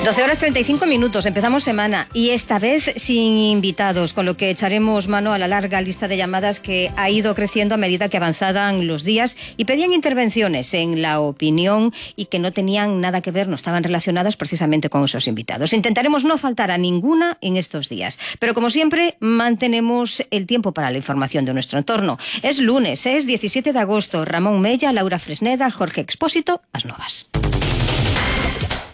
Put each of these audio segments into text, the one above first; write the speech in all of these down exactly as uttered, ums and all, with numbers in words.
doce horas treinta y cinco minutos, empezamos semana y esta vez sin invitados, con lo que echaremos mano a la larga lista de llamadas que ha ido creciendo a medida que avanzaban los días y pedían intervenciones en la opinión y que no tenían nada que ver, no estaban relacionadas precisamente con esos invitados. Intentaremos no faltar a ninguna en estos días, pero como siempre mantenemos el tiempo para la información de nuestro entorno. Es lunes, es diecisiete de agosto, Ramón Mella, Laura Fresneda, Jorge Expósito, As Novas.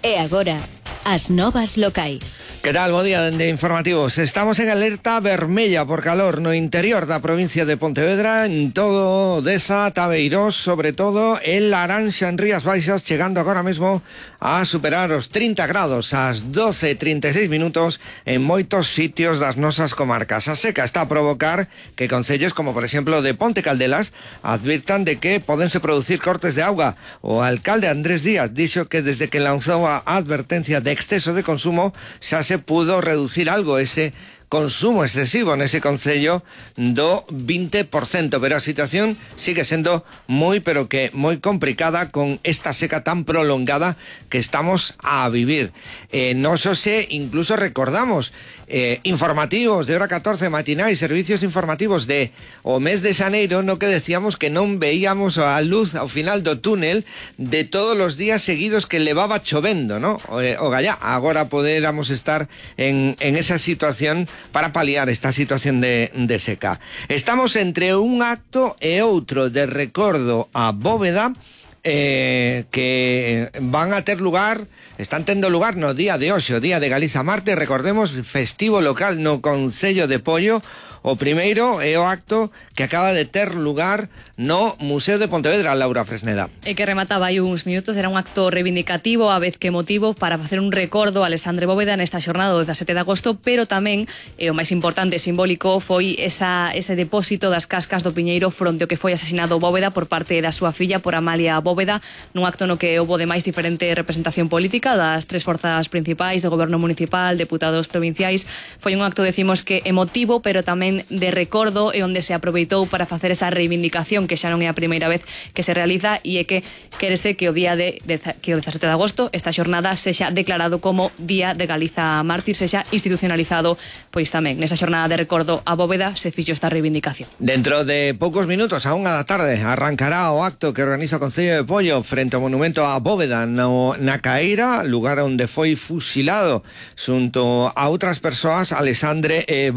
E agora, as novas locais. Que tal? Bo día de informativos. Estamos en alerta vermella por calor no interior da provincia de Pontevedra, en todo Deza, Tabeirós, sobre todo en Laranxa, en Rías Baixas, chegando agora mesmo a superar os trinta grados ás doce e trinta e seis minutos en moitos sitios das nosas comarcas. A seca está a provocar que concellos como por exemplo de Ponte Caldelas advirtan de que podense producir cortes de auga. O alcalde Andrés Díaz dixo que desde que lanzou a advertencia de exceso de consumo xa se pudo reducir algo ese consumo excesivo nese concello do vinte por cento, pero a situación sigue sendo moi, pero que moi complicada con esta seca tan prolongada que estamos a vivir. Eh, nos ose incluso recordamos eh, informativos de hora catorce matinais, servicios informativos de o mes de xaneiro, no que decíamos que non veíamos a luz ao final do túnel de todos os días seguidos que levaba chovendo, ¿no? O, eh, o gallá, agora poderamos estar en, en esa situación para paliar esta situación de, de seca. Estamos entre un acto e outro de recordo a Bóveda, eh, que van a ter lugar, están tendo lugar no día de hoxe, o día de Galiza Marte, recordemos, festivo local no Concello de Pollo. O primeiro é o acto que acaba de ter lugar no Museo de Pontevedra, Laura Fresneda. E que remataba aí uns minutos, era un acto reivindicativo, a vez que emotivo, para facer un recordo a Alexandre Bóveda nesta xornada do dezasete de agosto, pero tamén, e o máis importante e simbólico, foi esa, ese depósito das cascas do Piñeiro fronte ao que foi asesinado Bóveda por parte da súa filla, por Amalia Bóveda, nun acto no que houbo de máis diferente representación política das tres forzas principais do goberno municipal, deputados provinciais. Foi un acto, decimos, que emotivo, pero tamén de recordo e onde se aproveitou para facer esa reivindicación que xa non é a primeira vez que se realiza e é que quérese que o día de, de que o dezasete de agosto esta xornada sexa declarado como Día de Galiza Mártir, sexa institucionalizado, pois tamén nesa xornada de recordo a Bóveda se fixo esta reivindicación. Dentro de poucos minutos, a unha da tarde, arrancará o acto que organiza o Concello de Pollo frente ao monumento a Bóveda no, na Caeira, lugar onde foi fusilado xunto a outras persoas Alexandre e